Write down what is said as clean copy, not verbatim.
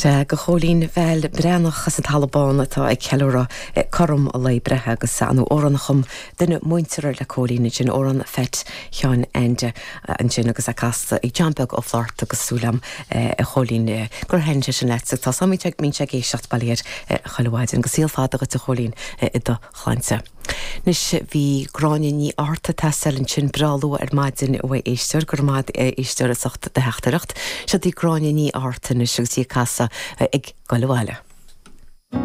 Sea, do Chóilín Val Breathnach as an Talamh Bán atá ag ceiliúradh cothrom a lae breithe agus ar ndóigh amhrán a chum duine muinteartha le Cóilín ansin, amhrán Pheait Sheáin Ainde ansin agus é casta ag John Beag Ó Flátharta agus súil agam a Chóilín gur thaitin sé sin leat agus tá a fhios agam go mbíonn sé ag éisteacht bail ó Dhia air chuile mhaidin agus saol fada dhuit a Chóilín i do shláinte. Anois bhí Gráinne Ní Fhátharta ag teastáil ansin breá luath ar maidin uaidh éisteoir, go raibh maith agat a éisteoir as ucht do theachtaireacht. Seo í Gráinne Ní Fhátharta anois agus í ag casadh ag Goil Abhaile.